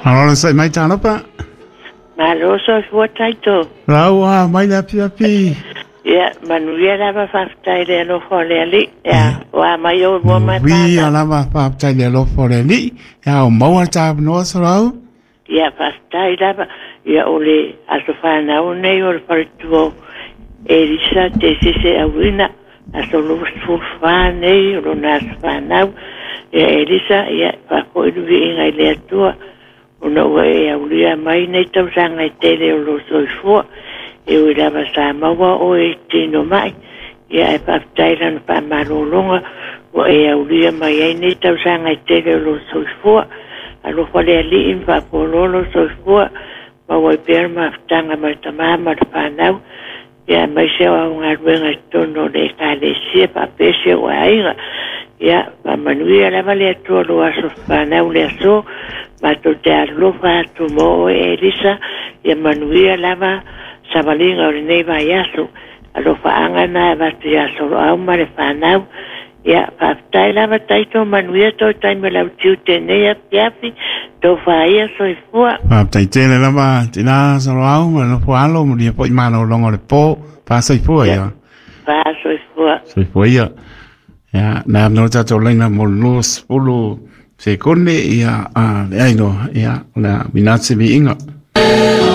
Malo le sai mai talofa. Malo soifua Taito. Lau a mai le afiafi. Ia, manuia lava faafetai i le alofa o le Alii. Ia, ua mai ou lua mai Manuia lava faafetai i le alofa o le Alii. Ia, o maua le tāvanoa Solau. Ia, faafetai lava. Ia, o le aso fanau nei o le faletua o Elisa Tesese Auina, aso 24 nei o lona aso fanau. Ia, Elisa, ia, faafoi le viiga i le Atua, ona ua e aulia mai nei tausaga e tele o lou soifua. E ui lava sa maua oe i tino mai, ia ae faafetai lana faamalologa ua e aulia mai ai nei tausaga e tele o lou soifua. Alofa le Alii ma faafualoa lou soifua, maua ai pea le mafutaga ma le tama ma le fanau, ia aemaise o au galuega i totonu o le Ekalesia faapea si ou aiga. Ia, faamanuia lava le Atua lou aso fanau le aso, matou te alolofa atu mo oe Elisa, ia manuia lava savaliga o lenei vaiaso. Alofaaga na e avatu ia Soloau ma le fanau. Ia, faafetai lava Taito, manuia toe taimi o lau tiute nei afiafi, tofa ia soifua. Faafetai tele lava tina Soloau ma le nofo alo, manuia foi malologa o le po. Faasoifua ia. Faasoifua. Soifua ia. Ia, na no tatou laina mo le 20 sekone ia a le ai loa, ia, o le a minate viiga.